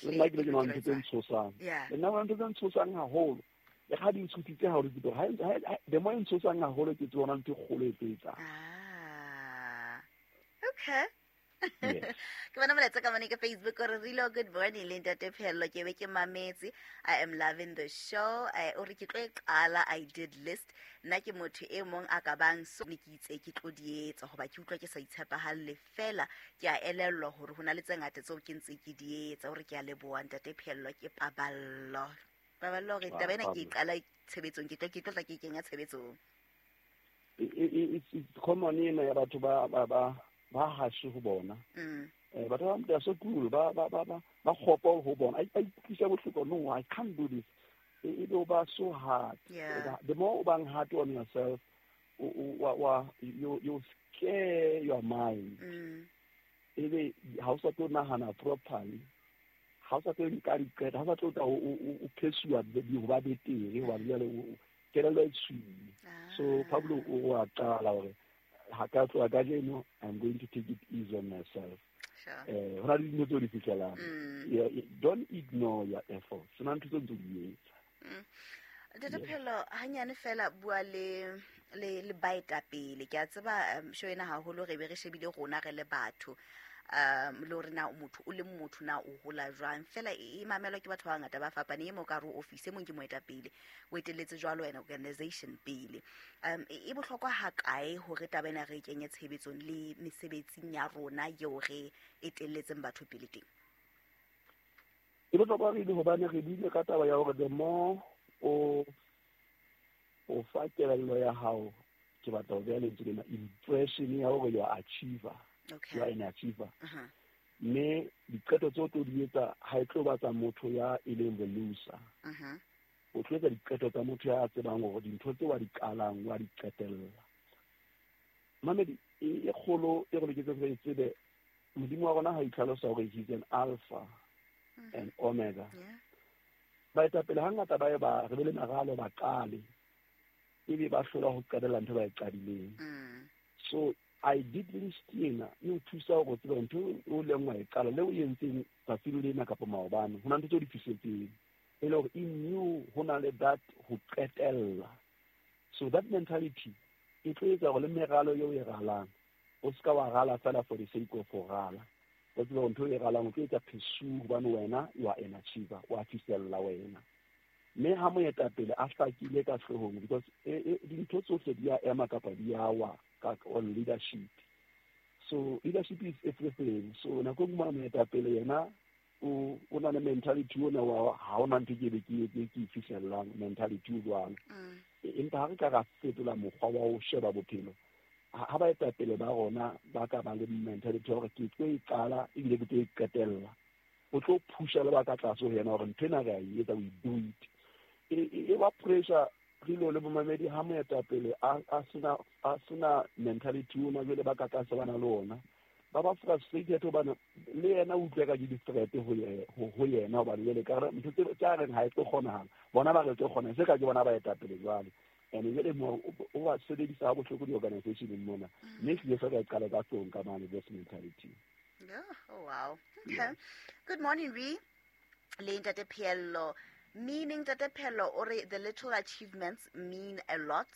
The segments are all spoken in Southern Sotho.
Le nna ke le ke ntho tse ntshosang. Le nna ntho tse ntshosang haholo. Le ga di ntshositse haholo ke ha the more e ntshosang haholo ke tsona ntho e kgolo e tlo etsang. Ah. Okay. Ke bona molaetsa ka mone ke Facebook o re rilo good morning le ntate Phello, ke be ke mametse. I am loving the show. O re ke tlo e qala, I did list. Nna ke motho e mong a ka bang so ne ke itse ke tlo di etsa hoba ke utlwa ke sa itshepahalle fela, ke a elellwa hore ho na le tse ngata tseo ke ntse ke di etsa. O re ke a leboha ntate Phello, ke Paballo. Paballo hore taba ena ke e qala tshebetsong, ke tlo tla ke e kenya tshebetsong. It's common ena ya batho ba hashe ho bona. Batho ba they are so cool, ba kgopo ho bona, a ikutlwisa bohloko. No, I can't do this. E be o ba so hard. The more o bang hard on yourself, wa you scare your mind. Ebe ha o sa tlo nahana properly, ha o sa tlo nka diqeto, ha o sa tlo tla o phesuwa ho ba betere hobane jwale kelello e tswile. So Pablo o a qala hore ha ka tloha kajeno, I'm going to take it easy on myself. Ho na le dintho tseo di fihlelang. Yeah, don't ignore your efforts. Sena ntho tseo ntse di etsa. Ntate Phelo, hanyane fela bua le baetapele. Ke a tseba show ena haholo re be re shebile rona re le batho, le hore na motho o le motho na o hola jwang. Fela e mamelwa ke batho ba bangata ba fapaneng. E mo ka re office, e mong ke moetapele, o etelletse jwalo wena organization pele. E bohlokwa hakae hore taba ena re e kenye tshebetsong le mesebetsing ya rona eo re etelletseng batho pele teng? E bohlokwa re ile hobane re buile ka taba ya hore the more o fa kelello ya hao, ke batla ho beha lentswe lena, impression ya hore you are achiever. You are an achiever. Mme diqeto tseo tlo di etsa ha e tlo ba tsa motho ya e leng the loser. O tlo etsa diqeto tsa motho ya tsebang hore dintho tse wa di qalang wa di qetella. Mamedi e kgolo e re loketseng re e tsebe, Modimo wa rona ha itlhalosa hore he's an alpha and omega. Baetapele hangata ba ye ba re be le meralo, ba qale, ebe ba hlola ho qetella ntho ba e qadileng. So I did list ena e o thusa hore o tsebe ntho o leng wa e qala le o entseng tsatsing lena kapa maobane, ho na ntho tse o di fihletseng e le hore in you ho na le that ho qetella. So that mentality e tlo etsa hore le meralo eo e ralang, o ska wa rala fela for the sake of ho rala. O tsebe hore ntho e ralang o tlo etsa pursue hobane wena you are an achiever, wa fihlella wena. Mme ha moetapele a hlakile ka hloohong, because dintho tsohle di a ema kapa di a wa ka on leadership. So leadership is everything. So nako e nngwe moetapele yena o na le mentality ona wa ha ona ntho ke be ke etse ke e fihlellang, mentality o jwalo. Empa ha re ka ra fetola mokgwa wa ho sheba bophelo, ha baetapele ba rona ba ka ba le mentality ya hore ke tlo e qala ebile ke tlo e qetella, o tlo phusha le ba ka tlase ho yena hore ntho ena re a e etsa, we do it. E ba pressure re le bomamedi ha moetapele a sena mentality ona, jwale ba ka tlase ba na le ona, ba frustrated hobane le yena o utlwe ka ke di-threat ho yena, hobane jwale ka re ntho tse a reng ha e tlo kgonahala, bona ba re tlo kgona se ka ke bona baetapele jwale. And jwale mo o ba sebedisa ha bohloko di-organizationeng mona, mme ehlile se ka e qala ka hloohong ka mane, this mentality. Yeah. Oh, wow. Okay. Good morning, Re. Le Ntate Phello. Meaning Ntate Phello ore the little achievements mean a lot.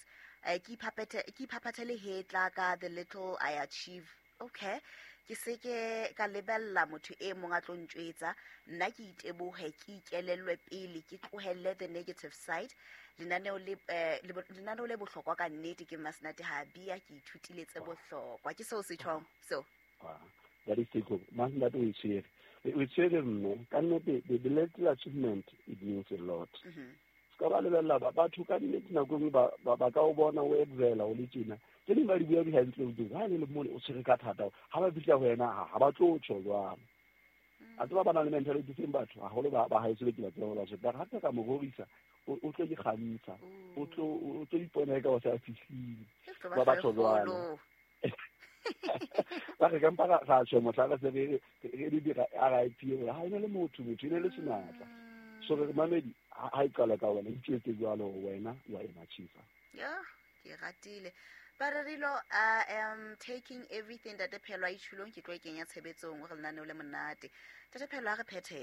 Ke iphaphathe le hetla ka the little I achieve. Okay. Ke se ke ka lebella motho e mong a tlo ntjwetsa, nna ke itebohe, ke ikelellwe pele, ke tlohelle the negative side. Lenaneo le bohlokwa ka nnete. Ke Masnate ha bia, ke ithutile tse bohlokwa. Ke seo se tjhong so. Ah, that is it. Masnate o e tshwere, o e tshwere mme ka nnete the little achievement, it means a lot. Se ka ba lebella batho ka nnete nako e nngwe ba ka o bona o excela o le tjena, tse ding ba di bua behind closed doors, ha e le mone o tshwere ka thata, ha ba fihla ho wena ha ba tlo tjho jwalo. A tseba ba na le mentality seng batho haholo ba haeso be ke ba tseba ba tjho ba hape ka mo rorisa, o tlo ikgantsha, o tlo ipona eka o se a fihlile. Ba batho jwalo ba re kampa ra tjho mohla re se re di dira RIP hore ha ene le motho e ne le senatla. So re mamedi ha e qala ka wena, itjwetse jwalo hore wena you are an achiever. Yeah, ke ratile. Ba re rilo, I am taking everything Ntate Phelo a itjhulong, ke tlo e kenya tshebetsong. O re lenaneo le monate. Ntate Phelo, a re phethe.